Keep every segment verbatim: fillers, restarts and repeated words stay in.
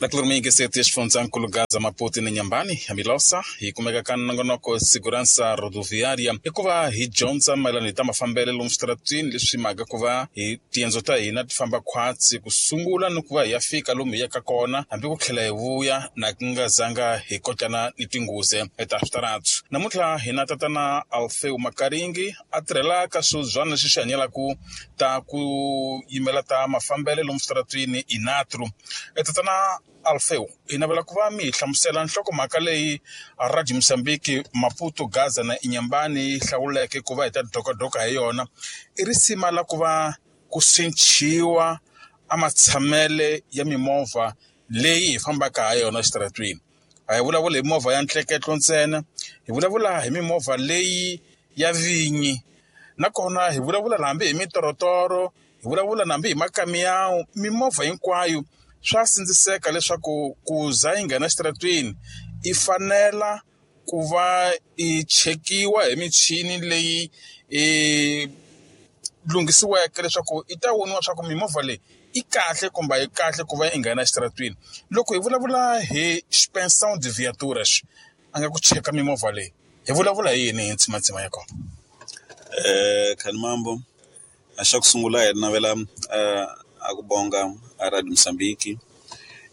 Na kulurumiyingiseti ya xifundzankulu Gaza Maputo na Nyambani ya Milosa hi kumeka ka nongonoko Segurança Rodoviária i ku va hi dyondza mayelana hi ta mafambelo lomu switaratwini leswi mhaka ku va hi tiendzo ta hina ti famba khwatsi ku sungula ni ku va hi ya fika lomu hi yaka kona hambi ku tlhela hi vuya na ku nga zanga hi kotlana ni tinghozi ta switaratu. Namuntlha hi na tatana Alfeu Makaringi a tirhela ka swibyana leswi swi hanyelaka ta ku yimela ta mafambelo lomu switaratwini Inatru. Tatana Alfeu, hi navela ku va mi hi hlamusela nhlokomhaka leyi Radio Mozambique Maputo Gaza na Inhambane yi hlawuleke ku va hi ta dokadoka hi yona. I risima la ku va ku cinciwa a matshamele ya mimovha leyi hi fambaka ha yona exitaratwini. A hi vulavuli hi movha ya ntleketlo ntsena, hi vulavula hi mimovha leyi ya vinyi nakona hi vulavula hambi hi mitorotoro, hi vulavula hambi hi makamiyawu, mimovha hinkwayo swa sindziseka leswaku ku za yi nghena exitaratwini i fanela ku va i chekiwa hi michini leyi i lunghisiweke leswaku i ta voniwa swa ku mimovha leyi i kahle kumbe a yi kahle ku va yi nghena exitaratwini. Loko hi vulavula hi inspeção de viaturas a nga ku cheka mimovha leyi hi vulavula hi yini hi ntsimantsima ya kona? Eh Khanimambo, a xa ku sungula hi navela a ku bonga a Radio Mozambique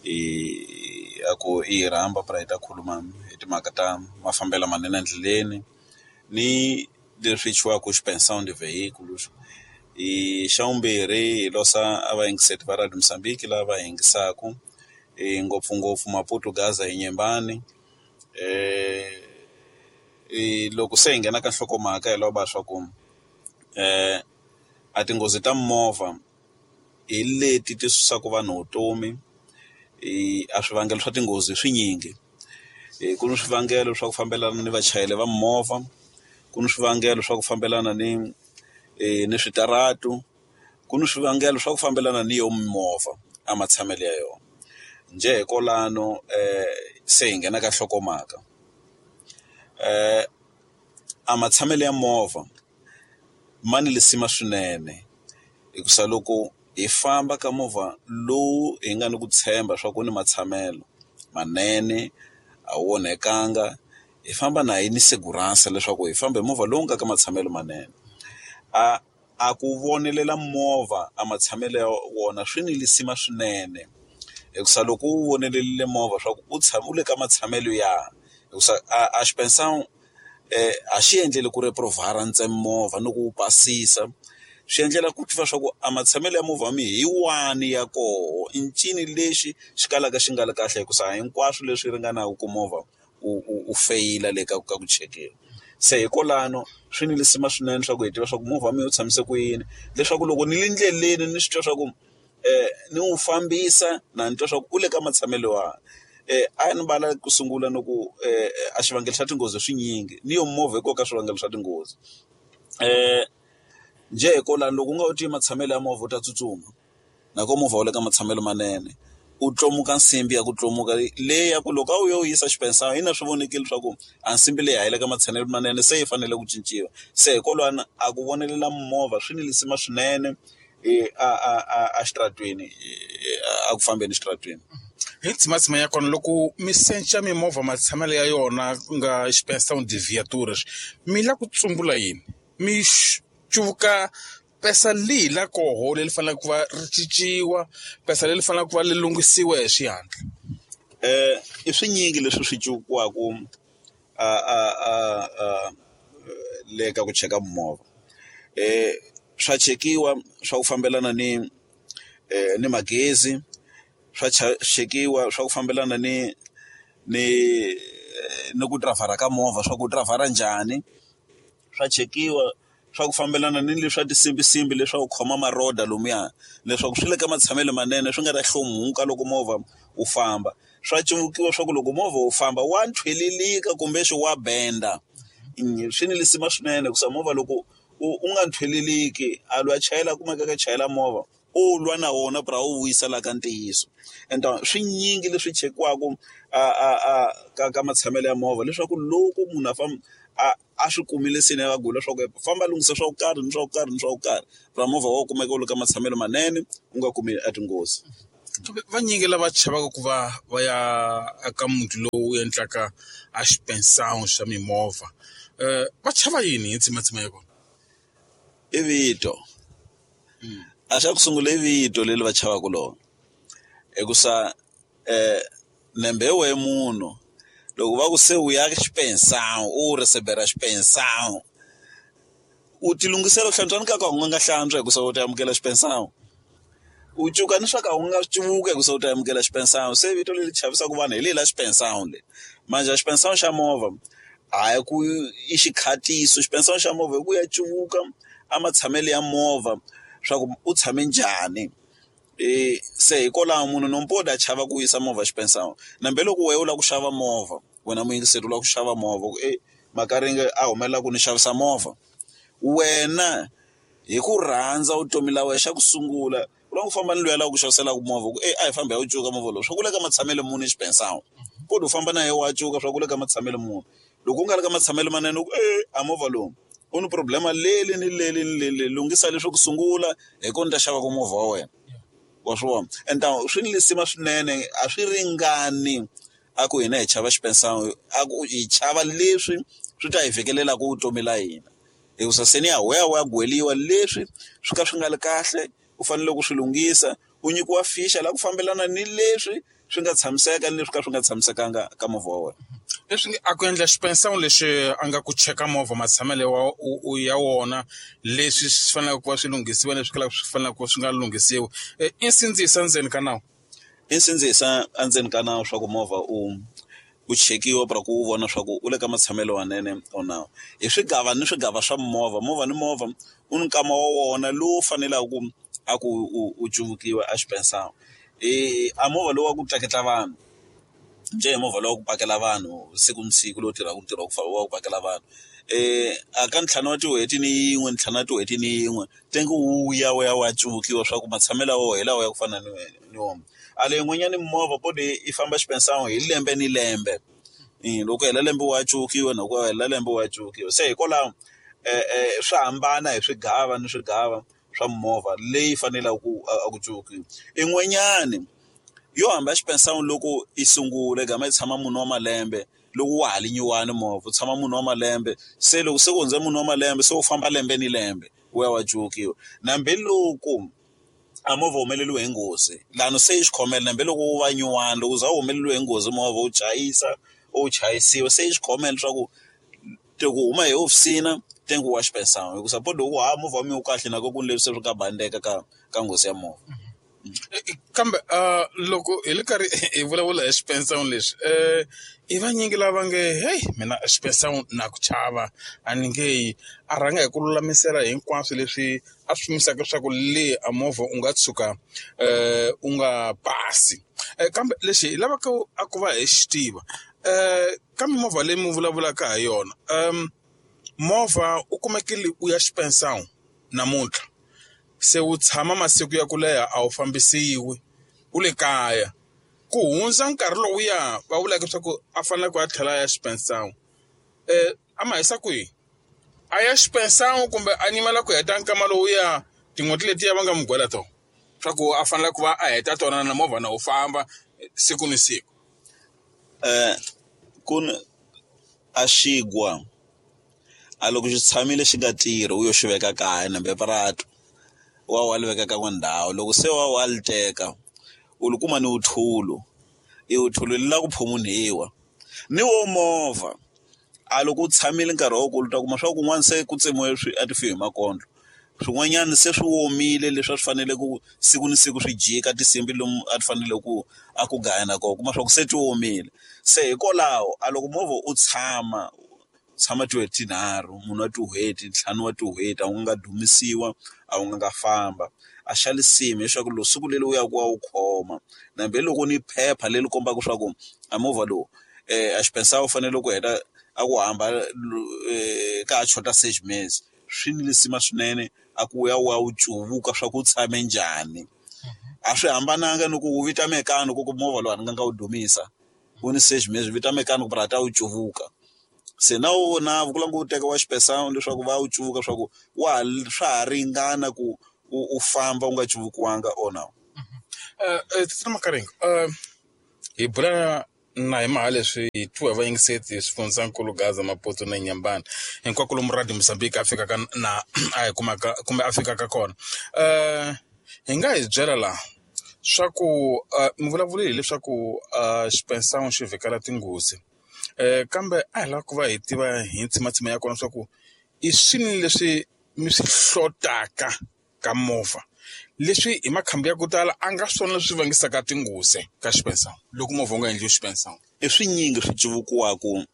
i a ku i hi rhamba pra hi ta khuluma hi timhaka ta mafambelo manene endleleni ni leswi chiwaku inspeção de veículos. I xa vumbirhi hi losa a vayingiseri va Radio Mozambique lava yingisaku i ngopfungopfu Maputo Gaza hi Nyembani. Eh i loko se hi nghena ka nhlokomhaka hi lava swa ku eh a tinghozi ta mimovha hi leti ti susaka vanhu vutomi. I a swivangelo swa tinghozi swinyingi, ku ni swivangelo swa ku fambelana ni vachayeri va mimovha, ku ni swivangelo swa ku fambelana ni ni switaratu, ku ni swivangelo swa ku fambelana ni yo mimovha a matshamelo ya yona. Njhe hi kwalano se hi nghena ka nhlokomhaka, a matshamelo ya movha ma ni lisima swinene hikusa loko hi famba ka movha lowu hi nga ni ku tshemba swa ku ni matshamelo manene a wu onhekanga hi famba na hi ni segurança leswaku hi famba hi movha lowu nga ka matshamelo manene. A a ku vonelela movha a matshamelo ya wona swi ni lisima swinene hikusa loko u vonelerile movha swa ku u tshama u le ka matshamelo ya hikusa a a xipensana a xi endleli ku reprovhara ntsena movha ni ku wu pasisa, swi endlela ku tiva swa ku a matshamelo ya movha wa mina hi wani ya koho i ncini lexi xi kalaka xi nga ri kahle hikusa hinkwaswo leswi ringanaka ku movha u u u feyila le ka ka ku chekiwa. Se hikwalano swi ni lisima swinene swa ku hi tiva swa ku movha wa mina wu tshamise ku yini leswaku loko ni le ndleleni ni swi twa swa ku ni wu fambisa na ni twa swa ku u le ka matshamelo wahi. A ni vala ku sungula ni ku a xivangelo xa tinghozi swinyingi ni yo movha hi koho ka swivangelo swa tinghozi. Njhe hi kwalano loko u nga wu tivi matshamelo ya movha u ta tsutsuma na ko movha wu le ka matshamelo manene u tlomuka nsimbi ya ku tlomuka leyi ya ku loko a wu yo yisa xipensana ina swi vonakile swa ku a nsimbi leyi a yi le ka matshamelo manene se yi fanele ku cinciwa. Se hikwalano a ku vonelela movha swi ni lisima swinene a a a a xitaratwini a ku fambeni xitaratwini. Hi ntsimantsima ya kona loko mi secha mimovha matshamelo ya yona ku nga inspeção de viaturas mi la ku tsumbula yini? Mi cuvuka pesa lihi la koho leri faneleke ku va ri cinciwa, pesa leri faneleke ku va ri lunghisiwa hi xihatla? Eh i swinyingi leswi swi cuvukiwaka a a a a le ka ku cheka mimovha. Swa chekiwa swa ku fambelana ni ni magezi, swa chekiwa swa ku fambelana ni ni ni ku dirayivhara ka movha swa ku dirayivhara njhani, swa chekiwa swa ku fambelana ni leswa tinsimbinsimbi leswaku khoma maroda lomuya leswaku swi le ka matshamelo manene swi nga ta hlomuka loko movha wu famba. Swa cuvukiwa swa ku loko movha wu famba wa nthwelelika kumbe wa benda, swi ni lisima swinene hikusa movha loko u u nga nthweleliki a loyi a chayela a kumeka a chayela movha u lwa na wona pra wu vuyisa la ka ntiyiso. Ende swinyingi leswi chekiwaka a a a ka ka matshamelo ya movha leswaku loko munhu a famba a a swi kumile se ni a gula leswaku famba lunghisa swa ku karhi ni swa ku karhi ni swa ku karhi ra movha wa kumeka wu le ka matshamelo manene u nga kumi a tinghozi. Vanyingi lava chavaka ku va va ya eka muti lowu endlaka a xipensana xa mimovha um va chava yini hi ntshamatsama ya kona? I vito a xa ku sungula i vito leri va chavaka lona hikusa nembe wehe munhu loko va ku se u ya xipensana u receiver xipensana u ti lunghisela ku hlantswa ni ka ka u nga hlantswa hikuva u ta amukela xipensana u cuka ni swa ka u nga cuvuka hikuva u ta amukela xipensana se vito leri chavisaka vanhu hi leri la xipensana leri manjhe a xipensana xa movha hayi ku i xikhatiso xipensana xa movha hi ku ya cuvuka a matshamelo ya movha swa ku u tshame njhani e se hikwalaho munhu nompoda a chava ku yisa movha xipensana nambe loko wena u lava ku xava movha wena muyingiseri u lava ku xava movha ku e Makaringe a humelela ku ni xavisa movha wena hi ku rhandza vutomi la wena xa ku sungula u lava ku famba ni loyi a lava ku xaviselaka movha ku e a hi fambi hi ya wu cuka movha lowu swa ku le ka matshamelo muni xipensana kodwa u famba na yena wa cuka swa ku le ka matshamelo muni loko u nga ri ka matshamelo manene u ku e a movha lowu u ni problema leli ni leli ni leli lunghisa leswi ku sungula hi kona ni ta xavaka movha wa wena wa swi vona ende swi ni lisima swinene a swi ringani a ku hina hi chava xipensana a ku hi chava leswi swi ta hi vhekelelaka vutomi la hina hikusa se ni ya waya wa gweliwa leswi swi ka swi nga ri kahle u fanele ku swi lunghisa u nyikiwa ficha la ku fambelana ni leswi swi nga tshamiseka ni leswi ka swi nga tshamisekanga ka movha wa wena. Leswi a ku endla xipensana lexi a nga ku cheka movha matshamelo wa ya wona leswi swi faneleke ku va swi lunghisiwa leswi kalaka swi faneleke ku va swi nga lunghisiwi i nsindziso endzeni ka nawu. I nsindzisa endzeni ka nawu swa ku movha u u chekiwa pra ku u vona swa ku u le ka matshamelo manene or na hi swigava ni swigava swa movha movha ni movha u ni nkama wa wona lowu faneleke ku a ku u u cuvukiwa a xipensana i a movha lowu wa ku tleketla vanhu njhe hi movha lowu wa ku pakela vanhu siku ni siku lowu tirhaka ntirho wa ku wa ku pakela vanhu a ka ntlhanu wa tin'hweti ni yin'we ntlhanu wa tin'hweti ni yin'we tengi wu ya wu ya wu ya cuvukiwa swa ku matshamelo ya wona hi lawa ya ku fana ni ni wona a leyi yin'wanyani movha podi yi famba xipensana hi lembe ni lembe loko hela lembe wa cuvukiwa na ku hela lembe wa cuvukiwa se hikwalaho swa hambana hi swigava ni swigava swa movha leyi faneleke ku a ku cuvukiwa in'wanyani yo hamba xipensana loko i sungula i gama i tshama mune wa malembe loko wa ha ri nyuwani movha u tshama mune wa malembe se loko se ku hundze mune wa malembe se u famba lembe ni lembe wu ya wa cuvukiwa nambe loko a movha humeleliwe hi nghozi lani se i xikhomela nambe loko wu va nyuwani loko u za u humeleliwe hi nghozi movha u chayisa u chayisiwa se i xikhomela leswaku ku huma hi hofisini tengi wa xipensana hikusa po loko ha movha wa mina wu kahle na ku ni leswi se swi nga bandeka ka ka nghozi ya movha. Kambe loko hi le karhi hi vulavula hi xipensana lexi i vanyingi lava nge heyi mina xipensana na ku chava a ni nge yi a rhanga hi ku lulamisela hinkwaswo leswi a swi pimisaka leswaku le a movha u nga tshuka u nga pasi kambe lexi hi lavaka a ku va hi xi tiva ka mimovha leyi mi vulavulaka ha yona movha u kumekile u ya xipensana namuntlha se wu tshama masiku ya ku leha a wu fambisiwi u le kaya ku hundza nkarhi lowuya va vulaka leswaku a fanele ku a tlhela a ya xipensana a ma hisa kwihi a ya xipensana kumbe a nyimela ku heta nkama lowuya tin'hweti letiya va nga n'wi gwela tona swa ku a fanele ku va a heta tona na movha na wu famba siku ni siku. Ku ni a xigwa a loko xi tshamile xi nga tirhi u yo xi veka kaya nambe puratu wa wa li veka ka ndhawu loko se wa wa li teka u li kuma ni wuthulu i wuthulu li la ku phumunhiwa ni wo movha a loko u tshamile nkarhi wa ku ta kuma swa kun'wana se ku tsemiwe swi a ti fi hi makondlo swin'wanyana se swi omile leswi a swi fanele ku siku ni siku swi jika tinsimbhi lomu a ti fanele ku a ku gaya na kona kuma swa ku se ti omile se hikwalaho a loko movha u tshama tshama tin'hweti tinharhu munhu wa tin'hweti ntlhanu wa tin'hweti a wu nga dumisiwa a wu nga nga famba a xa lisimi leswaku loko siku leri u ya ku wa wu khoma nambe loko ni phepha leri kombaka swa ku a movha lowu a xipensana u fanele ku heta a ku hamba ka ha xota sex mesi swi ni lisima swinene a ku ya wa wu cuvuka swa ku tshame njhani a swi hambananga ni ku wu vita mechanic ku movha lowu a ni nga nga wu dumisa wu ni sex mesi vita mechanic ku ta wu cuvuka se na wona ku lava ku teka wa xipensana leswaku va wu cuvuka swa ku wa ha swa ha ringana ku u u famba u nga cuvukiwanga or no. Tatana Makaringa hi bula na hi mhaka leswi hi twiwa hi vayingiseti swifundzankulu Gaza Maputo na Nyambani hinkwako lomu Radio Mozambique a fikaka na a hi kumaka kumbe a fikaka kona hi nga hi byela laha swa ku mi vulavule hileswaku xipensawu xi vhikela tinghozi kambe a hi lava ku va hi tiva hi ntsimatsima ya kona swa ku i swini leswi mi swi hlotaka ka movha leswi hi makhamba ya ku tala a nga swona leswi vangisaka tinghozi ka xipensawu loko movha wu nga endliwi xipensawu. I swinyingi swi cuvukiwaku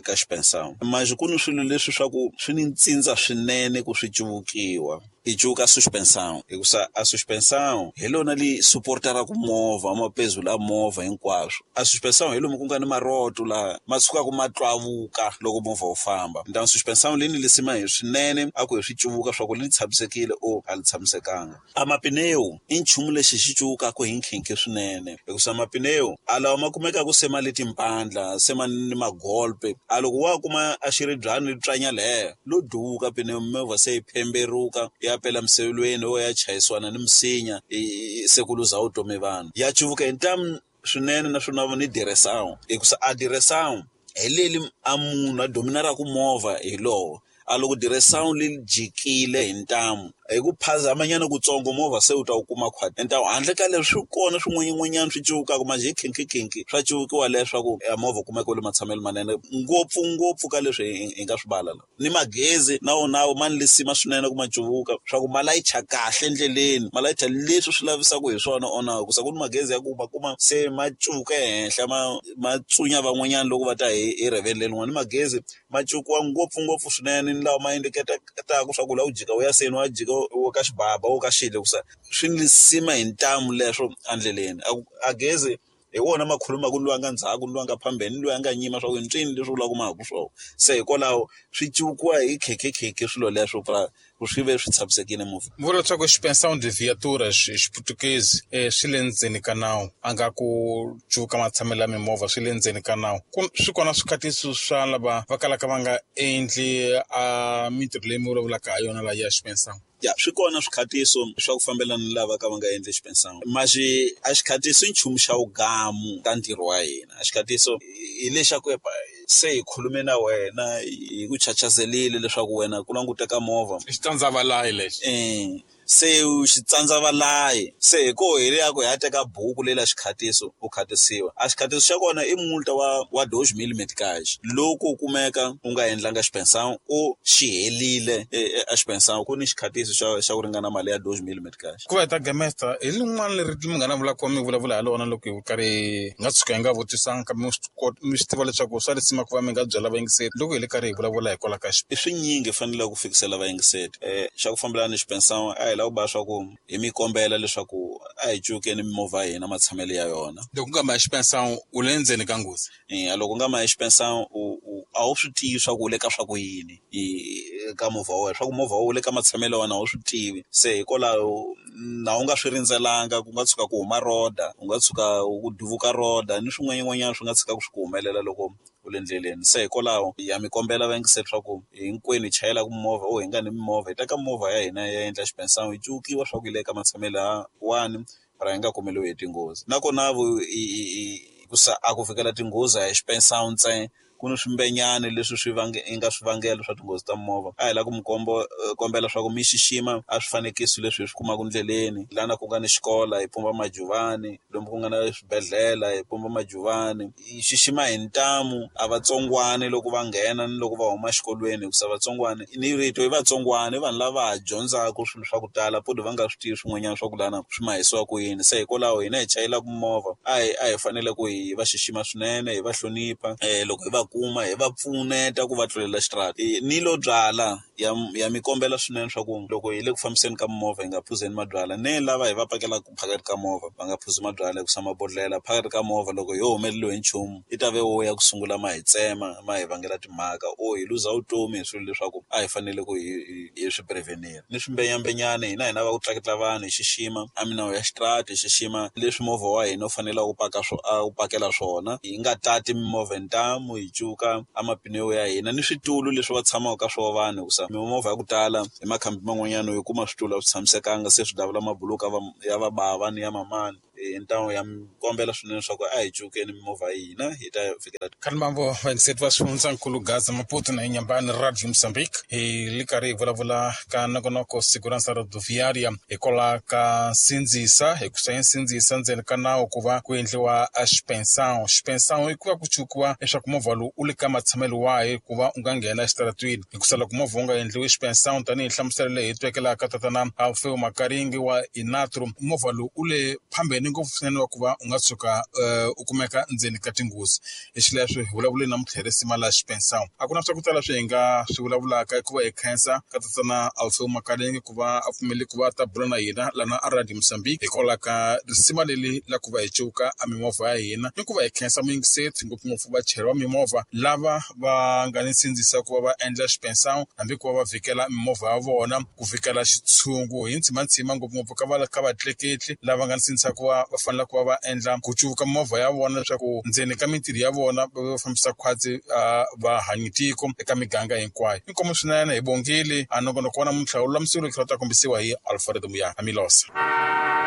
ka xipensawu manjhe ku ni swilo leswi swa ku swi ni ntsindza swinene ku swi cuvukiwa i cuvuka suspension hikusa a suspension hi lona li supportaraku movha mapezulu a movha hinkwaswo a suspension hi lomu ku nga ni maroto laha ma tshukaku ma twavuka loko movha wu famba ntamu suspension leyi ni lisima hi swinene a ku hi swi cuvuka swa ku li tshamisekile o a li tshamisekanga a mapinewu i nchumu lexi xi cuvukaku hi nkhinkhi swinene hikusa mapinewu a lawa ma kumekaku se ma le timpandla se ma ni magolpe a loko wa kuma a xiribyani li tswanya leya lo duvuka pinewu mimovha se yi phemberuka ya pela misevelweni wo ya chayisiwana ni misinya se ku luza vutomi vanhu ya cuvuka hi ntamu swinene naswona ni diresawu hikusa a diresawu hi leli a munhu a dominaraku movha hi lowo a loko diresawu li jikile hi ntamu hi ku phazamanyana kutsongo movha se u ta wu kuma khwati ntamu handle ka leswi swi kona swin'wanyin'wanyana swi cuvukaka manjhe hi khinkhi swa cuvukiwa leswaku a movha u kumeka wu le matshamelo manene ngopfungopfu ka leswi hi nga swi vala la ni magezi na wona ma ni lisima swinene ku ma cuvuka swa ku ma layicha kahle endleleni ma layicha leswi swi lavisaka hi swona ona hikusa ku ni magezi ya ku ma kuma se ma cuvuka ehenhla ma ma tsunya van'wanyana loko va ta hi hi rivele lerin'wana ni magezi ma cuvukiwa ngopfungopfu swinene ni lawa ma indiketaku swa ku la u jika u ya seni wa jika wo ka xibaba wo ka xile hikusa swi ni lisima hi ntamu leswo endleleni a gezi hi wona ma khulumaku ni loyi a nga ndzhaku ni loyi a nga phambeni ni loyi a nga nyima swa ku i ncini leswi vulaka mahaku swona se hikwalaho swi cuvukiwa hi khekhekhekhe swilo leswo ku swi ve swi tshamisekile movha. Mi vula leswaku xipensawu de viatura hi xiputukezi swi le ndzeni ka nawu a nga ku cuvuka matshamelo ya mimovha swi le ndzeni ka nawu ku swi kona swikhatiso swa lava va kalaka va nga endli a mintirho leyi mi vulavulaka ha yona laha ya xipensawu. Ya swi kona swikhatiso swa ku fambelana ni lava ka va nga endli xipensawu maxi a xikhatiso i nchumu xa wugamu ka ntirho wa hina a xikhatiso hi lexaku se hi khulume na wena hi ku chachazelile leswaku wena ku languteka movha i xitsandzavalayi lexi e se xitsandzavalayi se hi ko hi ya ku hi ya teka buku leyi la xikhatiso u khatisiwa a xikhatiso xa kona i multa wa wa doze mil meticage loko u kumeka u nga endlanga xipensawu u xi helile a xipensawu ku ni xikhatiso xa xa ku ringana mali ya doze mil meticage. Ku va hi ta gamesta hi lin'wana leri munghana vulaka mi vulavula ha lona loko hi karhi hi nga tshuka hi nga vutisanga kambe mi swi tiva leswaku swa risima ku va mi nga byela vayingiseri loko hi le karhi hi vulavula hikwalaho ka i swinyingi faneleke ku fikisela vayingiseri um xa ku fambelana ni xipensawu a hi lava ku ba swa ku hi mi kombela leswaku a hi cukeni mimovha ya hina matshamelo ya yona. Loko u nga ma xipensawu u le ndzeni ka nghozi. E loko u nga ma xipensawu u a wu swi tivi swa ku u le ka swa ku yini ka movha wa wena swa ku movha wu le ka matshamelo ya wena a wu swi tivi se hikwalaho na u nga swi rindzelanga ku nga tshuka ku huma roda u nga tshuka ku duvuka roda ni swin'wanyin'wanyana swi nga tshika swi ku humelela loko u le ndleleni se hikwalaho ya mi kombela vayingiseri swa ku hinkwenu hi chayelaka mimovha o hi nga ni mimovha hi teka movha ya hina ya endla xipensawu hi cuvukiwa swa ku yi le ka matshamelo ya wani ra hi nga kumeliwi hi tinghozi nakona vu hikusa a ku fikela tinghozi a hi xipensawu ntsena ku ni swimbenyani leswi swi vange i nga swivangelo swa tinghozi ta mimovha a hi lava ku mi komba kombela swa ku mi xixima a swifanekiso leswi hi swi kumaka ndleleni lana ku nga ni xikola hi pumba majuvani lomu ku nga na swibedhlele hi pumba majuvani hi xixima hi ntamu a vatsongwani loko va nghena ni loko va huma exikolweni hikusa vatsongwani ni rito i vatsongwani i vanhu lava ha dyondzaka swilo swa ku tala podi va nga swi tivi swin'wanyana swa ku lana swi mahisiwa ku yini se hikwalaho hina hi chayelaka mimovha a hi a hi fanele ku hi va xixima swinene hi va hlonipha um loko hi va kuma hi va pfuneta ku va tlulela xitrata ni lo byala ya ya mi kombela swinene swa ku loko hi le ku fambiseni ka mimovha hi nga phuzeni mabyalwa ne lava hi va pakelaka phakathi ka movha va nga phuzi mabyalwa hikusa mabodhlela phakathi ka movha loko yo humeleliwe hi nchumu i ta ve wo ya ku sungula ma hi tsema ma hi vangela timhaka o hi luza vutomi hi swilo leswaku a hi fanele ku hi hi swi prevenir ni swimbenyambenyani hina hina va ku tlaketla vanhu hi xixima a minawu ya xitrata hi xixima leswi movha wa hina u faneleke u paka swo a wu pakela swona hi nga tati mimovha hi ntamu hi cuka a mapineo ya hina ni switulu leswi va tshamaka ka swona vanhu hikusa mimovha ya ku tala hi makhambi man'wanyana u kuma switulu a swi tshamisekanga se swi davula mabuluka ya vabava ni ya mamani. Ntamu ya kombela swinene leswaku a hi cukeni mimovha ya hina hi ta fikela. Khalimambo vayingiseti va swifundzankulu Gaza Maputo na Inhambane Radio Mozambique hi li karhi hi vulavula ka nongonoko Segurança Rodoviária hikwalaho ka nsindzisa hi ku swa nsindzisa ndzeni ka nawu ku va ku endliwa a xipensão. Xipensão i ku va ku cukiwa leswaku movha lowu u le ka matshamelo wahi ku va u nga nghena exitaratwini hikusa loko movha wu nga endliwi xipensão tanihi nhlamuselo leyi hi twekelaka tatana Alfeu Makaringi wa Inatro movha lowu u le phambeni ngopfu swinene wa ku va u nga tshuka u kumeka ndzeni ka tinghozi. Hi xileswo hi vulavule na mutlherisi mali ya xipensão. A ku na swa ku tala swi hi nga swi vulavulaka hikuva hi khensa ka tatana Alfeu Makaringi ku va a pfumele ku va ta bula na hina lana a Radio Mozambique hikwalaho ka risima leri la ku va hi cuka a mimovha ya hina ni ku va hi khensa muyingiseti ngopfungopfu vachayeri va mimovha lava va nga ni nsindzisa ku va va endla xipensão hambi ku va va vhikela mimovha ya vona ku vhikela xitshungu hi ntsimantsima ngopfungopfu ka va ka vatleketli lava nga ni sindzisa ku va va fanele ku va va endla ku cuka mimovha ya vona leswaku ndzeni ka mintirho ya vona va va fambisa khwatsi va hanyi tiko eka miganga hinkwayo. Inkomu swinene hi bongile a nongonoko wa namuntlha wu lulamisiwile ku ta kombisiwa hi Alfred Muya Amilosa.